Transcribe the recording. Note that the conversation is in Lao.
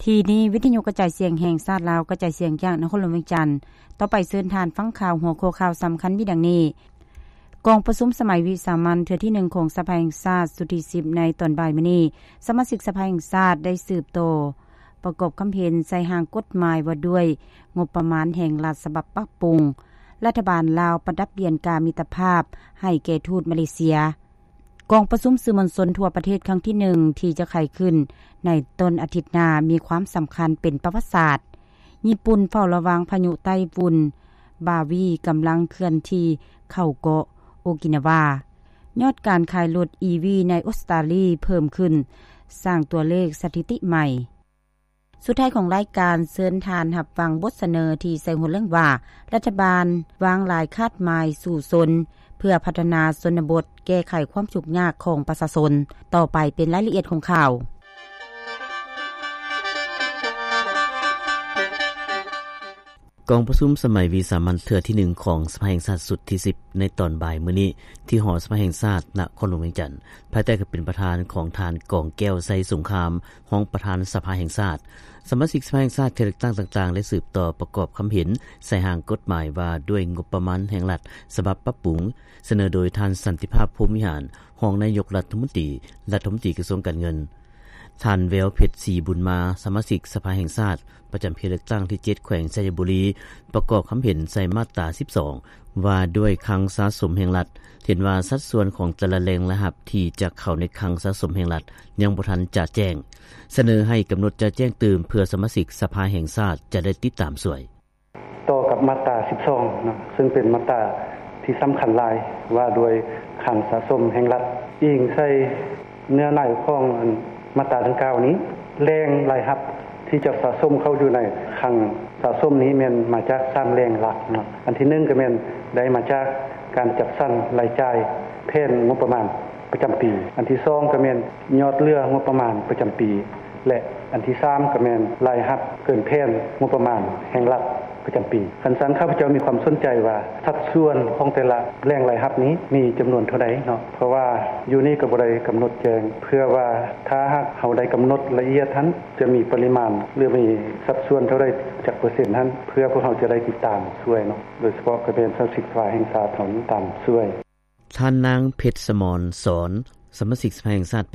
ທີ່ນີ້ ວິທະຍຸກະຈາຍສຽງແຫ່ງຊາດລາວ ກະຈາຍສຽງຈາກນະຄອນຫຼວງວຽງຈັນ. ຕໍ່ໄປເຊີນທ່ານຟັງຂ່າວ ຫົວຂໍ້ຂ່າວສຳຄັນມີດັ່ງນີ້: ກອງປະຊຸມສະໄໝວິສາມັນເທື່ອທີໜຶ່ງຂອງສະພາແຫ່ງຊາດຊຸດທີສິບ ໃນຕອນບ່າຍມື້ນີ້ ສະມາຊິກສະພາແຫ່ງຊາດໄດ້ສືບຕໍ່ປະກອບຄຳເຫັນໃສ່ຮ່າງກົດໝາຍວ່າດ້ວຍງົບປະມານແຫ່ງລັດສະບັບປັບປຸງ. ລັດຖະບານລາວປະດັບຫຼຽນກາມິດຕະພາບໃຫ້ແກ່ທູດມາເລເຊຍ. ກອງປະຊຸມສື່ມວນຊົນທົ່ວປະເທດຄັ້ງທີໜຶ່ງ ທີ່ຈະໄຂຂຶ້ນໃນຕົ້ນອາທິດໜ້າ ມີຄວາມສຳຄັນເປັນປະຫວັດສາດ. ຍີ່ປຸ່ນເຝົ້າລະວັງພາຍຸໃຕ້ຝຸ່ນບາວີ ກຳລັງເຄື່ອນທີ່ເຂົ້າເກາະໂອກິນາວາ. ຍອດການຂາຍລົດອີວີໃນອົດສະຕາລີເພີ່ມຂຶ້ນ, ສ້າງຕົວເລກສະຖິຕິໃໝ່. ສຸດທ້າຍຂອງລາຍການ, ເຊີນທ່ານຮັບຟັງບົດສະເໜີທີ່ໃສ່ຫົວເລື່ອງວ່າ ລັດຖະບານວາງຫຼາຍຄາດໝາຍສູ້ຊົນ ເພື່ອພັດທະນາຊົນນະບົດ, ແກ້ໄຂຄວາມທຸກຍາກຂອງປະຊາຊົນ. ຕໍ່ໄປເປັນລາຍລະອຽດຂອງຂ່າວ. ກອງປະຊຸມສະໄໝວິສາມັນເທື່ອທີໜຶ່ງຂອງສະພາແຫ່ງຊາດຊຸດທີສິບ ໃນຕອນບ່າຍມື້ນີ້ ທີ່ຫໍສະພາແຫ່ງຊາດນະຄອນຫຼວງວຽງຈັນ, ພາຍໃຕ້ການເປັນປະທານຂອງທ່ານ ກອງແກ້ວ ໄຊສົງຄາມ ຮອງປະທານສະພາແຫ່ງຊາດ. ສະມາຊິກສະພາແຫ່ງຊາດເຂດເລືອກຕັ້ງຕ່າງໆ ໄດ້ສືບຕໍ່ປະກອບຄຳເຫັນໃສ່ຮ່າງກົດໝາຍວ່າດ້ວຍງົບປະມານແຫ່ງລັດສະບັບປັບປຸງ, ສະເໜີໂດຍທ່ານ ສັນຕິພາບ ພົມວິຫານ ຮອງນາຍົກລັດຖະມົນຕີ, ລັດຖະມົນຕີກະຊວງການເງິນ. ທ່ານ ແວວເພັດ ສີບຸນມາ ສະມາຊິກສະພາແຫ່ງຊາດ ປະຈຳເຂດເລືອກຕັ້ງທີເຈັດ ແຂວງໄຊຍະບູລີ ປະກອບຄຳເຫັນໃສ່ມາດຕາສິບສອງ ວ່າດ້ວຍຄັງສະສົມແຫ່ງລັດ, ເຫັນວ່າສັດສ່ວນຂອງແຕ່ລະແຫຼ່ງລາຍຮັບທີ່ຈະເຂົ້າໃນຄັງສະສົມແຫ່ງລັດຍັງບໍ່ທັນຈະແຈ້ງ, ສະເໜີໃຫ້ກຳນົດຈະແຈ້ງຕື່ມ ເພື່ອສະມາຊິກສະພາແຫ່ງຊາດຈະໄດ້ຕິດຕາມຊ່ວຍ. ຕໍ່ກັບມາດຕາສິບສອງເນາະ ເຊິ່ງເປັນມາດຕາທີ່ສຳຄັນຫຼາຍ ວ່າດ້ວຍຄັງສະສົມແຫ່ງລັດ. ອີງໃສ່ເນື້ອໃນຂອງ ອັນ ມາດຕາດັ່ງກ່າວນີ້, ແຫຼ່ງລາຍຮັບທີ່ຈະສະສົມເຂົ້າຢູ່ໃນຄັງສະສົມນີ້ ແມ່ນມາຈາກສາມແຫຼ່ງຫຼັກເນາະ. ອັນທີໜຶ່ງກໍແມ່ນໄດ້ມາຈາກການຈັດສັນລາຍຈ່າຍແຜນງົບປະມານປະຈຳປີ, ອັນທີສອງກໍແມ່ນຍອດເຫຼືອງົບປະມານປະຈຳປີ ແລະ ອັນທີສາມກໍແມ່ນລາຍຮັບເກີນແຜນງົບປະມານແຫ່ງລັດປະຈຳປີ. ຄັນຊັ້ນ ຂ້າພະເຈົ້າມີຄວາມສົນໃຈວ່າ ສັດສ່ວນຂອງແຕ່ລະແຫຼ່ງລາຍຮັບນີ້ມີຈຳນວນເທົ່າໃດເນາະ, ເພາະວ່າຢູ່ນີ້ກໍບໍ່ໄດ້ກຳນົດແຈ້ງ ເພື່ອວ່າຖ້າຫາກເຮົາໄດ້ກຳນົດລະອຽດຫັ້ນ ຈະມີປະລິມານ ຫຼື ມີສັດສ່ວນເທົ່າໃດ ຈັກເປີເຊັນຫັ້ນ ເພື່ອພວກເຮົາຈະໄດ້ຕິດຕາມຊ່ວຍເນາະ, ໂດຍສະເພາະກໍແມ່ນສະມາຊິກສະພາແຫ່ງຊາດເຮົານີ້ຕາມຊ່ວຍ. ທ່ານນາງ ເພັດສະໝອນສອນ ສະມາຊິກສະພາແຫ່ງຊາດ